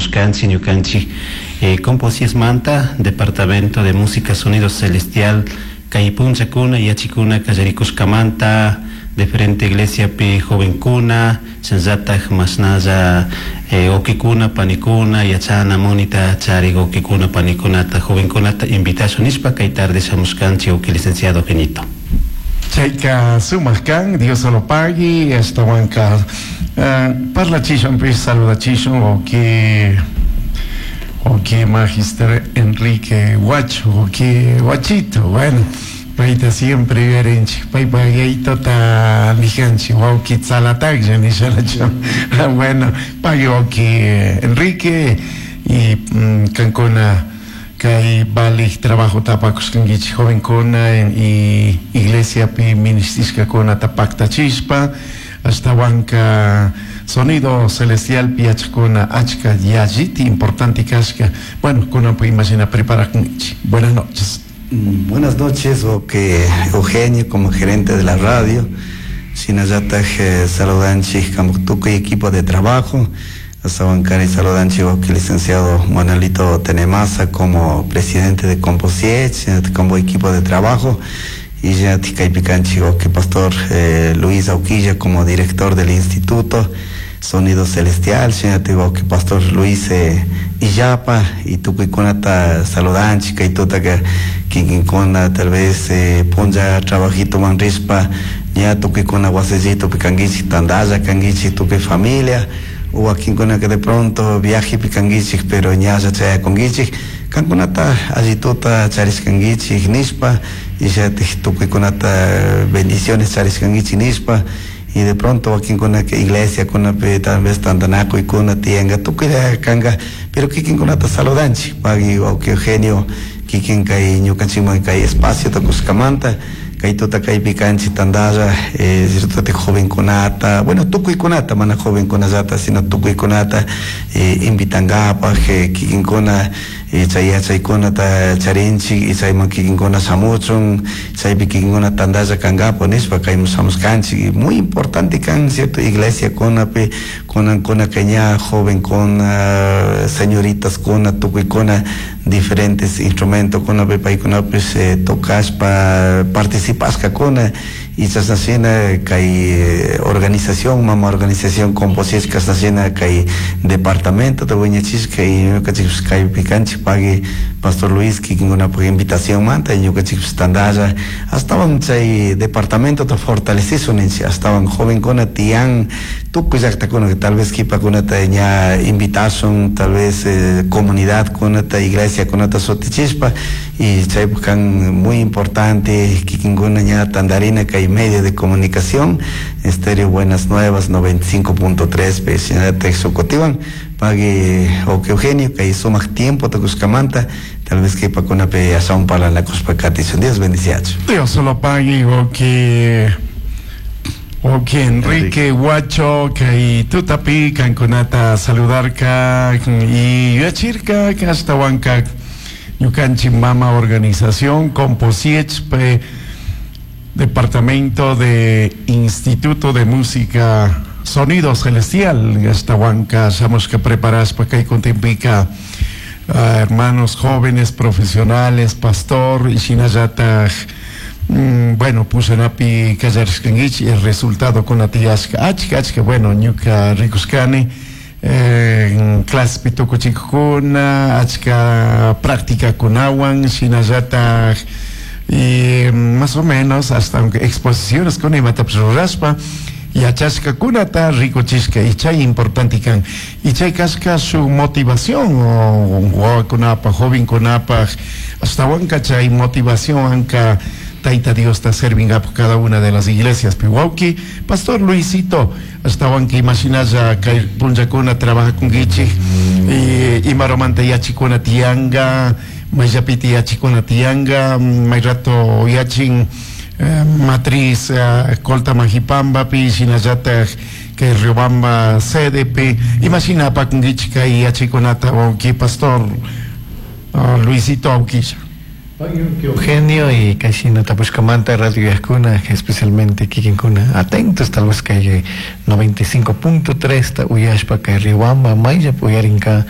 Shamushkanchik ñukanchik Composiesmanta, Departamento de Música Sonido Celestial, kay punchakuna yachikuna kallarikushkamanta diferente iglesiapi jovenkuna, shinallatak mashnalla wawkikuna panikuna yachana munita charik wawkikuna panikunata jovenkunata invitashun nishpa kay tarde shamushkanchik, wawki licenciado Genito. Chayka sumak kan, Dios lo pague, ashtawanka parlachishun saludachishun wawki Magister Enrique Huacho, wawki Huachito, bueno, payta siempre yuyarinchik, paypa yaytota nijanchik, wawki tzalataklla nishalachu. Bueno, pagui wawki Enrique y kankuna kay valik trabajo apakushkankichik jovenkuna y iglesiapi ministishkakunata paktachishpa, ashtawanka Sonido Celestial yachakuna achka yalliti importante kashka. Bueno, kunanpi imashina preparakunchik. Buenas noches. Buenas noches, Eugenio, como gerente de la radio, shinallataj saludanchik kampak tukuy equipo de trabajo, ashtawankari saludanchik wawki licenciado Manuelito Tenemasa como presidente de Composiech, como equipo de trabajo, y ya kaypi kanchik wawki pastor Luis Auquilla como director del instituto Sonido Celestial, shinatik wawki pastor Luis Illapa, y tukuykunata saludanchik kay tutaka kikinkuna tal vez punlla trabajitoman rishpa ña tukuykuna wasillitopi kankichik, tantalla kankichik tukuy familia, wakinkuna que de pronto viajepi kankichik pero ñalla chayakunkichik, kankunata allituta charishkankichik nishpa, y shatik tukuykunata bendiciones charishkankichik nishpa, y de pronto wakinkuna que iglesia kunapi tal vez tantanakuykuna tiyanka tukuylla kanka, pero kikinkunata saludanchik, pagui wawki Eugenio kikin kay ñukanchikman kay espaciota kushkamanta kay tuta kaypi kanchik tantalla, cierto, jovenkunata, bueno, tukuykunata, mana jovenkunallata sino tukuykunata invitankapak kikinkuna chay yachaykunata charinchik y chayman kikinkuna shamuchun, chaypi kikinkuna tantalla kankapak nishpa kayman shamushkanchik. Y muy importante kan, cierto, iglesia kunapi kunankuna kay ña jovenkuna, señoritas kuna, tukuykuna diferentes instrumentos kunapi paykunapish tocashpa participashkakuna, y chashnashina kay organización, mama organización Composiech chashnashina kay departamento wiñachishka y ñukanchikpish kaypi kanchik, pagui pastor Luis kikinkunapak invitación manta y ñukanchikpish tantalla ashtawan chay departamentota fortalecishun ninchik, ashtawan jovenkuna tiyan tukuy llaktakuna tal vez kipakunata ña invitashun, tal vez comunidad kunata, iglesia kunata shutichishpa, y chaypak kan muy importante kikinkuna ña tantarina kay medio de comunicación Estéreo Buenas Nuevas 95.3 pe shinallatak shukutiwan. Pagui wawki Eugenio kay sumak tiempo tukushkamanta, tal vez kipakunapi ashawan parlanakushpa katishun. Dios bendiciachu. Dios lo pague, wawki Enrique Huacho, kay tutapi kankunata saludarka y yuyachirka ashtawanka ñukanchik mama organización Composiech pe Departamento de Instituto de Música Sonido Celestial, ashtawanka shamushka preparashpa kay kuntinpika hermanos jóvenes profesionales, pastor y shinallataj bueno, pushanapi kallarishkankichik el resultado kuna tiyashka achka achka, bueno, ñuka rikushkani clasepi tukuchikuna achka práctica kunawan shinallataj y más o menos hasta aunque exposiciones con imatapish rurashpa yachashkakunata rikuchishka y chay importante kan y chay kashka su motivación wawakunapaj jovenkunapaj ashtawanka chay motivación anka Taita Diosta servingapak cada una de las iglesias pi. Wawki pastor Luisito, ashtawanka imashinalla kay punllakuna trabajakunkichik y imaromanta yachikuna tiyanka, mayllapiti yachikuna tiyanka, may rato yachin matriz Colta Majipambapi shinallataj kay Riobamba sedepi, imashina apakunkichik kay yachikunata, wawki pastor Luisito Auquilla? Eugenio y kayshina tapushkamanta radio uyajkuna, especialmente kikinkuna atentos tal vez kay 95.3 ta uyashpa kay Riobamba mayllapi uyarinka.